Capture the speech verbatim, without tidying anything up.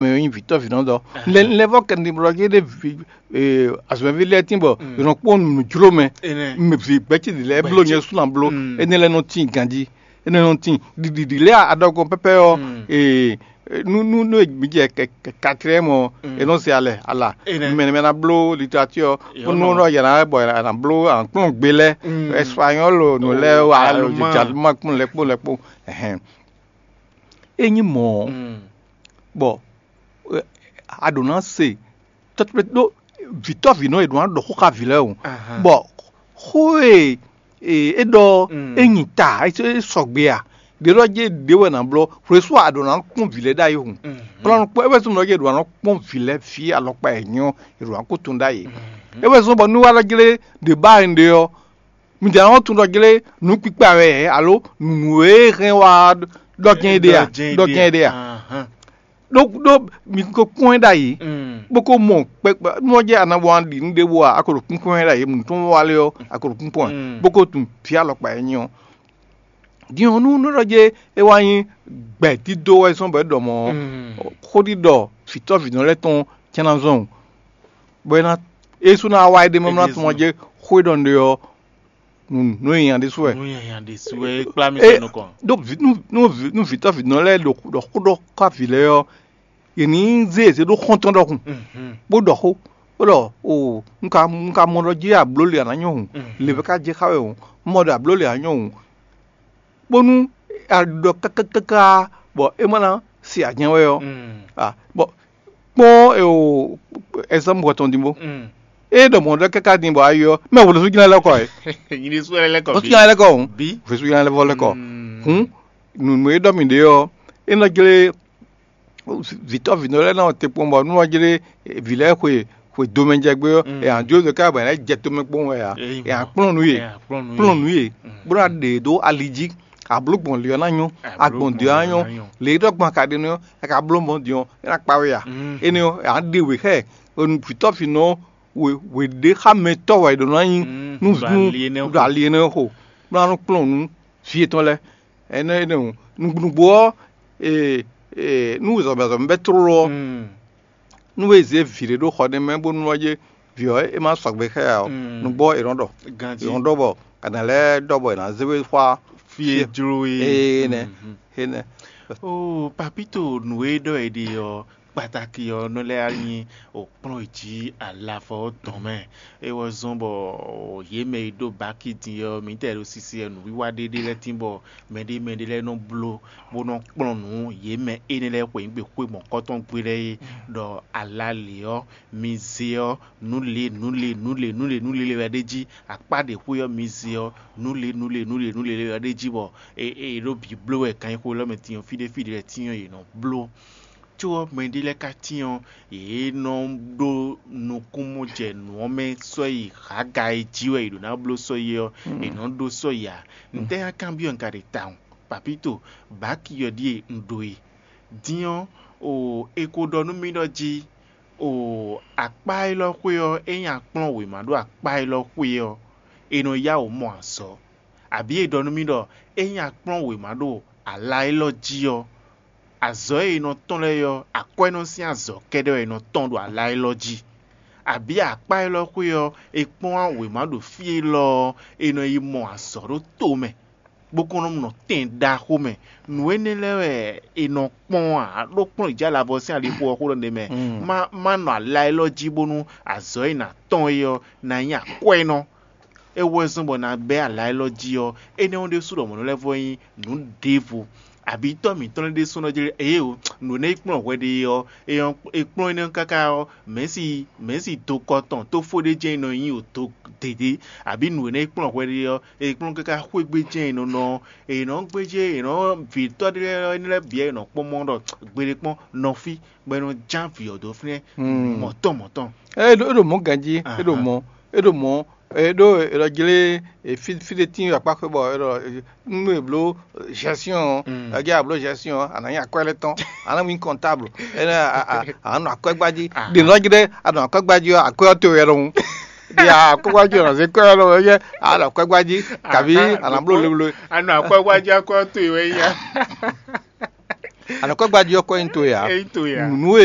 mɛ nyí vǐtɔ́ vǐnɔ́dɔ. Lɛ lɛ vɔ kɛ ni blɔ gé ɖé vi azɔ̌mɛví lɛ́ɛ tín bɔ yě nɔ kpɔ́n nǔ jló mɛ. Mɛ vi gbɛ́cí ɖi lɛ́ɛ bló nyɛ sú ná bló. Énɛ́ lɛ́ɛ nɔ tín ganjí. Énɛ́ nɔ tín ɖiɖiɖi lɛ́ɛ aɖɔgɔn pɛpɛ ɔ́. Ee, nú nú nú mi jɛ katriyɛmu ɔ́, è nɔ se alɛ ala. Mɛ mɛ ná bló literature ɔ́, bó nú nɔ yɛ ná bɔ yɛ ná bló ankplɔ́n gbe lɛ́ɛ, espagnol nǔ lɛ́ɛ, aluma kpɔn lɛ kpó lɛ kpó. Ényí mɔ̌ ɔ́, bɔ a ɖǒ ná se tɔ́tɔ́ ɖó vǐtɔ́vǐnɔ e ɖǒ ná ɖɔ xó xá vǐ lɛ́ɛ o, bɔ xó e e é ɖɔ é nyi ta é sɔgbe a? Ɖě ɖɔ jɛ ɖě wɛ nǎ blɔ́ hwesú a ɖǒ ná kpɔ́n vǐ lɛ́ɛ ɖ'ayǐ hǔn. Kplɔ́n kpɔ́n é wɛ zɔ́n ɖɔ jɛ ɖǒ ná kpɔ́n vǐ lɛ́ɛ fí alɔkpa e nyɔ́ è ɖǒ ná kó tun ɖ'ayǐ. É wɛ zɔ́n bɔ nú wá ɖɔ jlé ɖě ba e un ɖe ɔ́, mi jǎ nɔ tunɖɔ jlé nǔ kpikpa wɛ alo nǔ e hɛn wá ɖɔ jɛ́n é ɖe a? Ɖɔ jɛ́n é ɖe a? Ɖó ɖó mi ko kpɔ́n ɛ ɖ'ayǐ, bó ko mɔ kpɛkpɛ nú ɔ́ jɛ a nǎ wá ɖi nǔ ɖěbǔ a, a ko ɖo kpínkpɔ́n ɛ ɖ'ayǐ, nǔ tɔn wá lé ɔ́, a ko ɖo kpínkpɔ́n ɛ, bó ko tunwun vǐ alɔkpa e nyí ɔ́. Din ɔ́, nú nú ɖɔ jɛ é wá nyí gbɛ̌dídó wɛ zɔ́n bɔ é ɖɔ mɔ̌ ɔ́, xó ɖiɖɔ vǐtɔ́vǐnɔ lɛ́ɛ tɔn cɛ́ ná zɔn o, bɔ é ná é sú ná wá é ɖe mɛ mlá tɔn jɛ xó e ɖɔ nǔɖé ɔ́, nǔ nǔ e nya ɖésú wɛ. Nú nyanya ɖésú wɛ é kplá mì É, sɔ́ nukɔn. Ɖó vǐ- nú nú vǐ- nú vǐtɔ́vǐnɔ lɛ́ɛ ɖo ɖɔ xó ɖɔ xá vǐ lɛ́ɛ ɔ́, yě ní zé yě zé ɖó xɔ́ntɔn ɖɔhun, bó ɖɔ xó, bó ɖɔ o un ka un ka mɔ ɖɔ jí abló le a nǎ nyɔ hǔn, le vɛ ká jɛ xá wɛ hǔn, un mɔ ɖɔ abló le a nyɔ hǔn, bónú a ɖɔ kákákáká bɔ é má ná se ajɛn wɛ ɔ́, a bɔ kpɔ́n e o ɛzɔ́mɛ tɔn din bó. É ɖɔ mɔ̌ ɖɔ káká din bɔ ayi ɔ́, mɛ hwenu sú jlɛ́n lɛ́ kɔ ɛ. Nyini sú lɛ́ kɔ Ó sú jlɛ́n lɛ́ kɔ hǔn. Bí. Hwenu sú jlɛ́n lɛ́ vɔ lɛ́ kɔ hǔn. Nǔ e ɖɔ mǐ ɖe ɔ́, é nɔ jlé vǐtɔ́ vǐnɔ lɛ́ɛ nɔ te kpɔ́n bɔ nú ɔ́ jlé vǐ lɛ́ɛ xwe xwe domɛ jɛ gbé ɔ́, è nǎ jó ɖo ká bɔ è nǎ jɛ tomɛ kpɔ́n wɛ ǎ. È nǎ kplɔ́n nǔ yě. Kplɔ́n nǔ yě. Bó ná ɖe ɖó ali jí. Abló gbɔn li ɔ́ ná nyɔ́, agbɔn dǐ ɔ́ ná nyɔ́. Lě e ɖɔ gbɔn a ka ɖe nú ɔ́, a ka bló mɔ̌ din ɔ́, é ná kpa we ǎ. Énɛ́ ɔ́, è nǎ ɖe wě xá ɛ, vǐtɔ́ vǐnɔ wě wě ɖé xá mɛ tɔ́ wɛ è ɖǒ ná nyí nú ɖo ali énɛ́ xo, bó ná nɔ kplɔ́n nǔ vǐ yětɔn lɛ́ɛ. Énɛ́ énɛ́ hǔn, nǔgbó ɔ́, e e nú zɔ̌mɛzɔ̌mɛ bɛ́ tlóló ɔ́, nú é zě vǐ ɖé ɖó xɔ ɖé mɛ bónú ɔ́ jé vǐ ɔ́ é má sɔgbe xá ɛ ǎ ɔ́, nǔgbó ɔ́ è nɔ ɖɔ. È nɔ ɖɔ bɔ a nǎ lɛ́ ɖɔ bɔ è nǎ zé we xwá fí e jló é. Énɛ́ énɛ́. Oo, papito nǔ e ɖɔ è ɖe ɔ́, kpataki ɔ́ nɔ lɛ́ nyí òkplɔ́n jí alavɔ ɔ́ tɔn mɛ. É wɔ zɔ́n bɔ yě mɛ e ɖó baki din ɔ́, mǐtɛɛ ɖo sisi ɛ nǔwiwa ɖé ɖé lɛ́ɛ tín bɔ mɛɖé mɛɖé lɛ́ɛ nɔ bló bó nɔ kplɔ́n nǔ yě mɛ énɛ́ lɛ́ɛ xweyǐgbe xwé mɔ̌kɔtɔn gbe lɛ́ɛ é, ɖɔ alalě ɔ́, mi zé ɔ́, nǔ lě nǔ lě nǔ lě nǔ lě nǔ lě wɛ ɖ'é jí. Akpá ɖě xwé ɔ́, mi zé ɔ́, nǔ lě nǔ lě nǔ lě nǔ lě wɛ ɖ'é jí, bɔ è è ɖó bǐ bló wɛ ganxixo élɔ́ mɛ din ɔ́, fí ɖé fí ɖé lɛ́ɛ tín ɔ́, yě nɔ bló. Có ɔ́, mɛɖé lɛ́ɛ ka tín ɔ́, yě nɔ ɖó nukúnmɔjɛnǔ ɔ́ mɛ sɔ́ yi hǎga e jí wɛ è ɖǒ ná bló sɔ́ yi ɔ́, è nɔ ɖó sɔ́ yi ǎ. Ntɛ́ nyí kanbyɔ́ un ka ɖe tawun? Papito, bǎki ɔ́ ɖíe un ɖó e. Din ɔ́, o è ko ɖɔ nú mì ɖɔ jí, o akpá élɔ́ xwé ɔ́, ényí a kplɔ́n wěma ɖó akpá élɔ́ xwé ɔ́, è nɔ yá wǔ mɔ azɔ̌. Abǐ è ɖɔ nú mì ɖɔ ényí a kplɔ́n wěma ɖo ala élɔ́ jí ɔ́, azɔ̌ e è nɔ tɔ́n lɛ́ɛ ɔ́, akwɛ́nɔ sín azɔ̌ kɛ́ɖɛ́ wɛ è nɔ tɔ́n ɖo ala élɔ́ jí. Abǐ akpá élɔ́ xwé ɔ́, è kplɔ́n wěma ɖo fí élɔ́ ɔ́, è nɔ yi mɔ azɔ̌ ɖó to mɛ, bó kɔn nɔ nɔ tɛn ɖaxó mɛ. Nǔ énɛ́ lɛ́ɛ wɛ è nɔ kpɔ́n ǎ, ɖó kplɔ́n jǎ lavɔ sín alixo ɔ́ xó ɖɔ ɖ'é mɛ. Má má nɔ ala élɔ́ jí bónú azɔ̌ e nǎ tɔ́n é ɔ́ ná nyí akwɛ́nɔ. É wɛ zɔ́n bɔ ná bɛ́ ala élɔ́ jí ɔ́, énɛ́ ɔ́ ɖésú ɖɔ mɔ̌ nɔ lɛ́ vɔ nyí nǔ ɖěvo. Abǐ tɔ́ mǐtɔn lɛ́ɛ ɖésú nɔ jlé eye o, nǔ énɛ́ e kplɔ́n hwɛ ɖe é ɔ́, é ɔ́, é kplɔ́n énɛ́ káká ɔ́, mɛ̌si mɛ̌si dokɔ tɔn tófó ɖé jɛ́n nɔ nyí o do dědé, abǐ nǔ énɛ́ e kplɔ́n hwɛ ɖe ɔ́, è kplɔ́n káká xwé gbé jɛ́n è nɔ nɔ ɔ́, è nɔ gbéjé è nɔ vǐtɔ́ ɖé lɛ́ɛ énɛ́ lɛ́ɛ bǐ wɛ è nɔ kpɔ́n mɔ ɖɔ gbeɖé kpɔ́n nɔ fí, bɔ è nɔ ján vǐ ɔ́ dó fínɛ́ mɔ̌tɔn mɔ̌tɔn. É ɖo é ɖo mɔ̌ ganjí, é ɖo mɔ̌, é ɖo mɔ̌, é ɖo é ɖɔ jlé fí fí ɖé tín akpá xwé bɔ é ɖɔ nú è bló gestion ɔ́, é jẹ́ a bló gestion ɔ́, a nǎ nyí akwɛ́ lɛ́ɛ tɔn, a nǎ nyí comptable, é nɔ a a a nɔ akwɛ́gbá jí, ɖě nɔ jí ɖé a nɔ akwɛ́gbá jí ɔ́, akwɛ́ ɔ́ to wɛ ɖɔhun. Ɖě a akwɛ́gbá jí ɔ́, a nɔ zé kwɛ́ ɔ́ ɖɔhun, é jẹ́ a nɔ akwɛ́gbá jí, kabí a nǎ bló lewle. A nɔ akwɛ́gbá jí akwɛ́ ɔ́ to wɛ nyí a. Anɔkɔ́gbají ɔ́ kɔ nyi towe ǎ. Eyi to ya. Nǔ e